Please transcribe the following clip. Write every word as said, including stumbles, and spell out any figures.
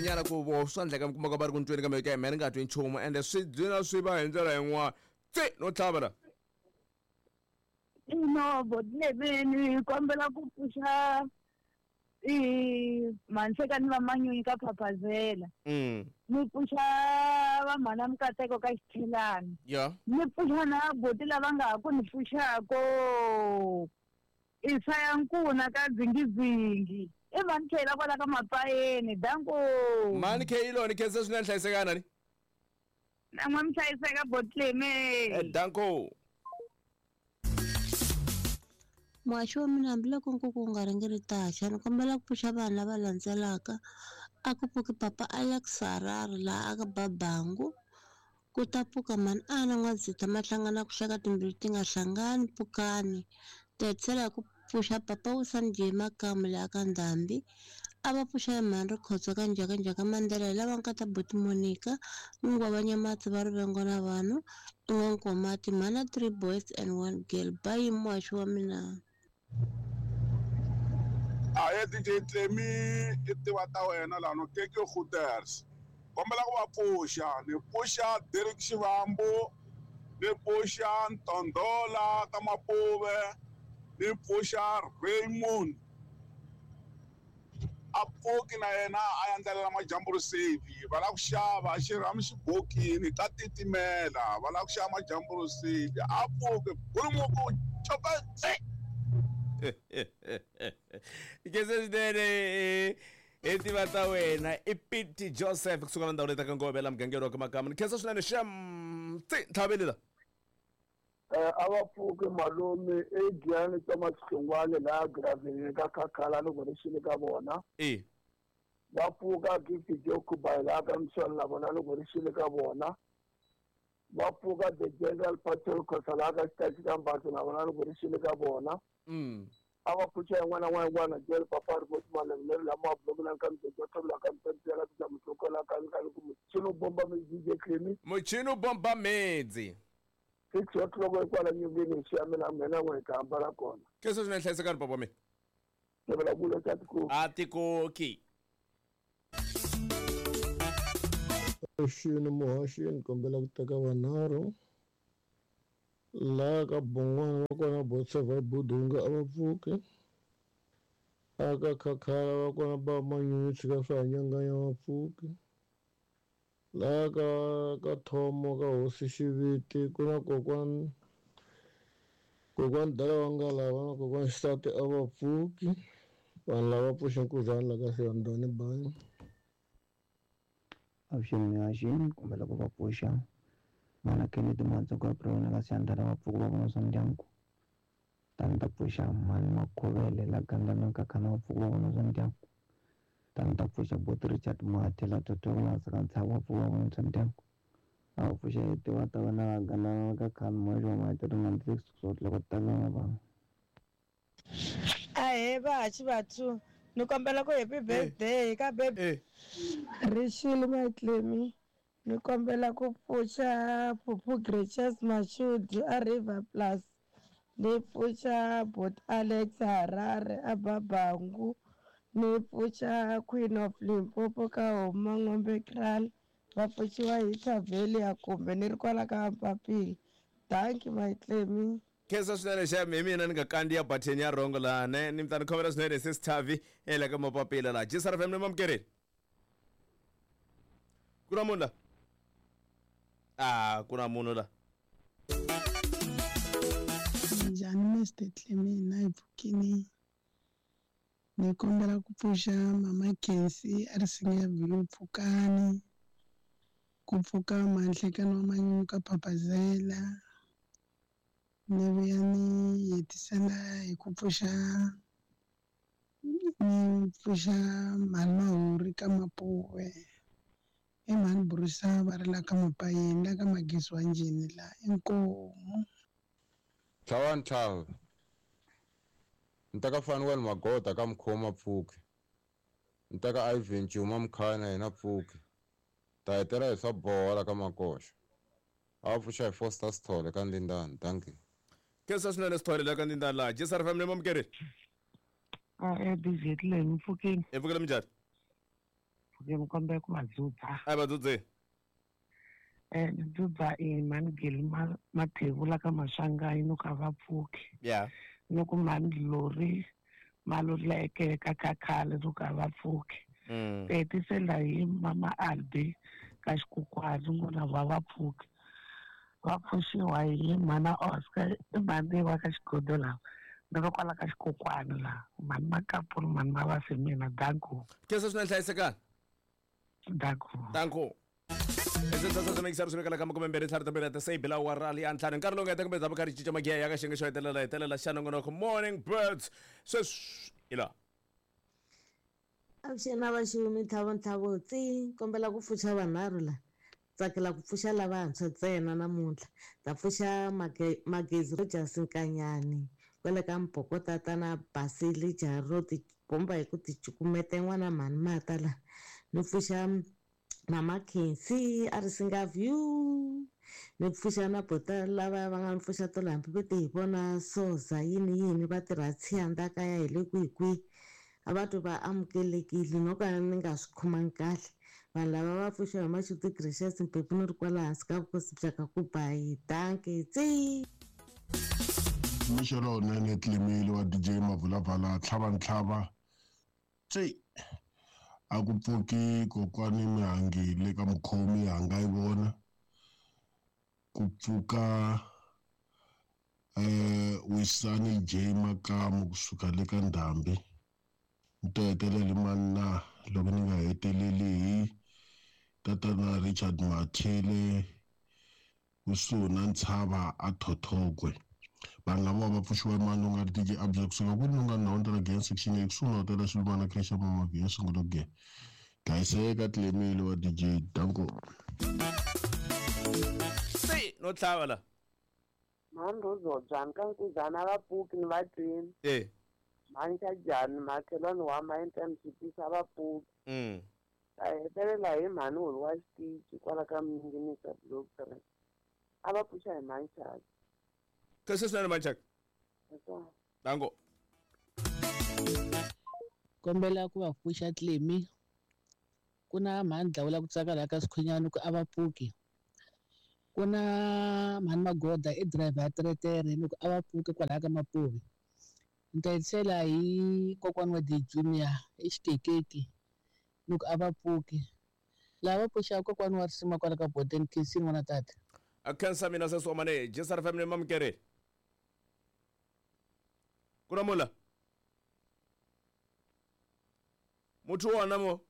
Nyana ku vo swa endleka mi kuma ka va ri ku ntweni kambe ka mehe ni nga twi nchumu ende swi gcina swi va hi ndlela yin'wana tsi no tlhava la. Ino botlebeni kombela ku pfuxa i manhlekani va manyunyu ka Phaphazela. Mm. Ni pfuxa va mhana Mukateko ka Xithelani. Yeah. Ni pfuxa na boti lava nga ha ku ni pfuxako. Isaya Nkuna ka Dzingidzingi. I mani K la kwala ka Mapayeni, danko. Mani K iloni khensa swinene hlayisekana ni. Na n'we mi hlayiseka botleme. Eh danko. Muhaxi wa mina hambiloko nkuku wu nga ringeri taxa ni kombela ku pfuxa vanhu lava landzelaka a ku pfuki papa Alex Harare laha a ka Babangu ku ta pfuka mhani Ana N'wadzita mahlangana ku hleka timbilu ti nga hlangani pfukani ta hetisela hi ku pfuxa papa Wisani J Makamu laha ka Ndhambi a va pfuxa hi mhani Rikhotso ka Njhakanjhaka Mandela hi lava nkata buti Monica N'wingwa Nyamatsi va rivengo na vanhu i N'wankomati mhana three boys and one girl bayi muhaxi wa mina. Aye D J Tlemi i tiva ta wena laha no Keke Hooters kombela ku va pfuxa ni pfuxa Derek Xivambu ni pfuxa Ntondhola ka Mapuve ni pfuxa Raymond a pfuki na yena a endlela majambu risivi va lava ku xava xirhamu xibokini ka titimela va lava ku xava majambu risivi a pfuki bulumuku chopa tsi. Khensa swinene i tiva ta wena i Pete Joseph kusuka la ndhawu leyi taka Ngove la mugangeni wa ka Makama ni khensa swinene xem tsi ntlhaveli la. Eh a va pfuki malume e Giyani Thomas Hlongwane laha Graveni ka Khakhala loko ri xile ka vona. E va pfuka Gift Jokuba laha ka Mswani na vona loko ri xile ka vona. Va pfuka the General Patrol Khosa laha ka Xitachi ka Mbaso na vona loko ri xile ka vona. Mm. A va pfuxa yin'wana na yin'wana jele papa ri voti malembe lama bloku na ka mdzodzo tlola ka mtsela ka mtlokola ka ka ku muchino bomba mi D J Tlemi muchino bomba medzi six o'clock kwala nyongeni xi ya mina mina n'we ka hambana kona khensa swinene hlayisekani papa mina tevela kulo ta tiko a tikoki Xini muhaxini kombela ku teka vanharhu laha ka Bon'wana va kona Botseva Budunga a va pfuki aka Khakhala va kona ba Manyunyu tshika swa hanyanganya va pfuki laha ka ka Thomo ka Hosi Xiviti ku na kokwani kokwani Dala wa Ngalava na kokwani Xisati a va pfuki vanhu lava pfuxa nkuzana la ka Siyandhani bayi. Avuxeni muhaxini kombela ku va pfuxa mana Kennedy Matsonga Brown ka Siyandhani va pfuka va vona swa ndyangu tani ta pfuxa mhani Makhovele la Gandlana ka Khana va pfuka va vona swa ndyangu tani ta pfuxa boti Richard Mathe la Thothola ka Ntshava va pfuka va vona swa ndyangu a va pfuxa tiva ta vana va Gandlana ka Khana muhaxi wa Maiteri ninety six loko tala vanhu. Ahee vahaxi vathu ni kombela ku happy birthday ka baby Rixile Matlemi ni kombela ku pfuxa Phuphu Gracious Mashudi a River Plus ni pfuxa bot Alex Harare a Babangu ni pfuxa Queen of Limpopo ka Homa N'wembe Kraal va pfuxiwa hi Thaveli ya kumbe ni ri kwala ka Mpapili. Thank you Matlemi. Khensa swinene xem hi mina ni nga kandziya button ya rhongo laha ne ni mi ta ni khomela swinene sis Thavi ela ka Mapapila laha G S R F M ni mamukereni ku na munhu la a ku na munhu la. Njhani Mister Tlemi na hi pfukini ni kombela ku pfuxa mama Kensi a ri singa view pfukani ku pfuka manhlekani wa Manyunyu ka Phaphazela ni vuya ni hetisela hi ku pfuxa ni pfuxa mhani Mahuri ka Mapuve i mhani Brusa va ri la ka Mapayeni la ka Magezi wa Njhini la inkomu. Tlhavani tlhava ni ta ka Fanuel Magota ka Mkhoma pfuki ni ta ka Ivan Chuma Mkhana yena pfuki ta hetela hi swa bola ka Makoxa a va pfuxa hi Foster Sithole ka Ndindani. Thank you. Khensa swinene Sithole la ka Ndindani laha G S R F M ni mamukereni. A e D J Tlemi pfukini. Hi pfukile minjhani? pfuke mi kombela ku va dzudza. A va dzudze. Eh ni dzudza i mhani Geli Mathevula ka Maswanganyi no ka va pfuki. Yeah. No ku mhani Lori Maluleke ka Khakhale no ka va pfuki. Mm. Hetisela hi mama Albi ka Xikukwani n'wana va va pfuki. Va pfuxiwa hi mhana Oscar i mhani wa ka Xigodo laha. Ni va kwala ka Xikukwani laha. Mhani Makapuri mhani Mavasi mina danko. Khensa swinene hlayisekani. Danko. Danko. Ezenzazazamekisarusumekala ka makume mbirhi ntlhanu timbirhi ta sei bila wa rali ya ntlhanu nkarhi lowu nga heta kumbe dzaba karhi cinca magiya ya ka xiyenge xo hetelela hetelela xa nongonoko Morning Birds sweswi hi laha. Avuxeni na vaxumi ntlhavo ntlhavo tsi kombela ku pfuxa vanharhu la tsakela ku pfuxa lavantshwa ntsena namuntlha ta pfuxa Magezi Rogers Nkanyani kwale ka Mbhokotata na Basili Jaro tibomba hi ku ti cukumeta n'wana mhani mata la ni pfuxa Mama Khensi a ri singa view ni pfuxa na bota lava va nga ni pfuxa tolo hambi va ti hi vona soza yini yini va tirha tshiyanda kaya hi le kwihi kwihi a va twi va amukelekile no ka ni nga swi khomangi kahle vanhu lava va pfuxiwa hi Mashudu Gracious Mphephu ni ri kwala hansi ka vukosi bya ka ku ba hi danke tsi. Mixo lowunene Tlimile wa D J Mavulavala tlhava ntlhava tsi a ku pfuki kokwani Mihangi le ka mukhomi hanga yi vona ku pfuka eh Wisani J Makamu kusuka le ka Ndhambi ni to hetelela mani na loko ni nga heteleli hi tatana Richard Mathile kusuhi na Ntshava a Thothokwe vanhu lava va pfuxiwa mani u nga ri D J Abza kusuka kwini u nga ndhawu ta la section A kusuhi na hotela Xilumana Creche Mama Via sungula ku dlayiseka Tlemile wa D J danko. Se no tlhava la mhani Rozobya ka Nkuzana va pfuki ni va twini. Eh. Mhani Xajani makhelwani wa ma N M C P va pfuki. Mm. Ta hetelela hi mhani Holi wa xitichi kwala ka Minginisa block three. A va pfuxa hi mhani Chaka. Khensa swinene mhani Chaka. Danko. Kombela ku va pfuxa Tlemi ku na mhani Dlawula ku tsaka laha ka Sikhwinyani ku a va pfuki. Ku na mhani Magoda i driver ya teretere ni ku a va pfuki kwalaya ka Mapuve. Ni ta hetisela hi kokwani wa D Junior i xikekeki ni ku a va pfuki. Lava va pfuxaka kokwani wa risima kwala ka Boden Khensi n'wana tata. A khensa mina sesi wa mane J S R Family mamukeri. Ku na mula. Muthu wona mo.